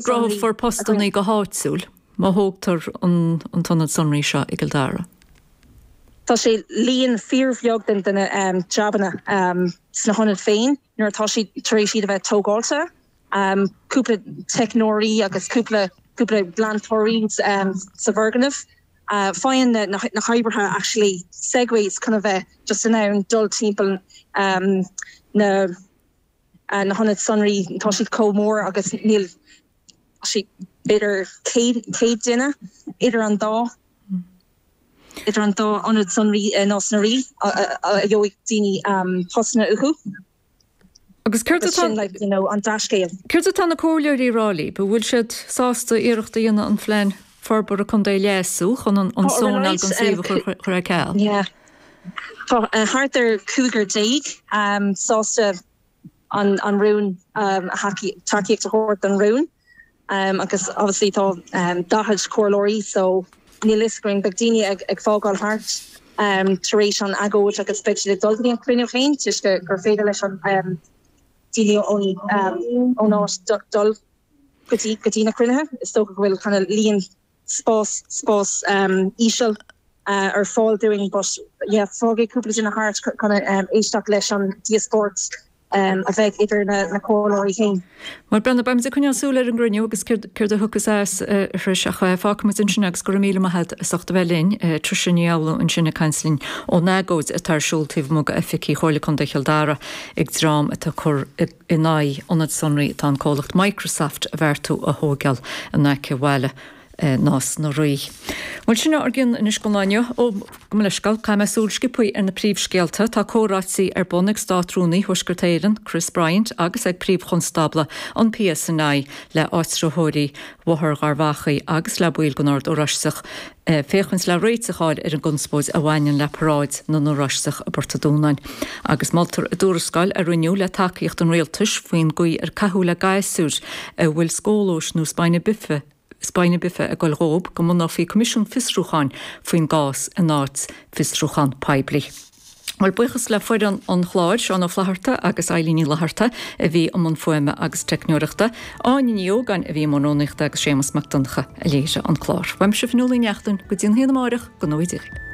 sonraí gcruthófar postannaí go háitiúil má thógtar an t-ionad sonraí seo i gCill Dara? Tá sé líon fíorbheag de na jabanna sna hionaid féin nuair atá siad tar éis iad a bheith tógáilte. Cúpla teicneoirí agus cúpla cúpla glantóirí sa bhfoirgneamh. Faigheann na hoibrithe actually segways chun a bheith just in ann dul timpeall na na hionaid sonraí. Tá siad chomh mór agus níl sé b'fhéidir 100 duine idir an dá idir an dá ionad sonraí i Nás na Rí a gheobhaidh daoine postanna uathu. Agus céard atá sin like you know an dea-scéal. Céard atá na comhairleoirí a rá libh? An bhfuil siad sásta iarracht a dhéanamh an phlean forbartha contae a leasú chun an Tá sónáil don suíomh a chur ar ceal? Yeah. Tá thart ar chúigear sásta an rún tacaíocht a thabhairt don rún agus obviously tá 40 comhairleoirí so níl fhios againn, beidh daoine ag fágáil thart tar éis an agóid agus beidh siad ag dul go dtí an cruinniú féin toisc gur féidir leis an daoine ón áit dul go dtí go dtí na cruinnithe. Is dócha go bhfuil kind of líon spás spás íseal ar fáil dúinn but yeah fágfaidh cúpla duine thart chun éisteacht leis an díospóireacht a bheidh idir na comhairleoirí féin. Bhuel Brenda, beimid ag coinneáil súil ar an gcruinniú agus céard a thiocfas as a Thris ach fágfaimid ansin agus go raibh míle maith agat as ucht a bheith linn. Tricia Ní Fhoghlú ansin ag caint linn ón agóid atá ar siúl taobh amuigh d'oifigí Chomhairle Contae Chill Dara ag dream atá ag cur in aghaidh ionad sonraí atá an comhlacht Microsoft a bheartú a thóigeáil in aice bhaile Nás na Rí. Bhuel, sin ár gcionn anois don lá inniu. Ó, gabh mo leithscéal, caithfidh mé súil sciobthaí ar na príomhscéalta. Tá comhráití ar bun ag Státrúnaí Thuaisceart Éireann, Chris Bryant, agus ag Príomh-Chonstábla an PSNI le áitritheoirí Bhóthar Gharbhachaidh agus le baill den Ord Oráisteach féachaint le réiteach a fháil ar an gconspóid a bhaineann le Paráid na nOráisteach i bPort an Dúnáin. Agus moltar i dtuarascáil a rinneadh le tacaíocht an rialtais faoin gcaoi ar caitheadh le gasúir a bhfuil scólóis nó spina bifida spina bifida ag dul dhóib go mbunófaí coimisiún fiosrúcháin faoin gcás in áit fiosrúchán poiblí. Bhuel, buíochas le foireann an chláir, Seán Ó Flatharta agus Eilín Ní Fhlatharta a bhí i mbun fuaime agus teicneoireachta, Áine Ní Ógáin a bhí i mbun rúnaíochta agus Séamus Mac Donncha a léirigh an clár. Uaimse Fionnuala Ní Neachtain, go dtí an haon amáireach, go ngnóthaí Dia dhaoibh.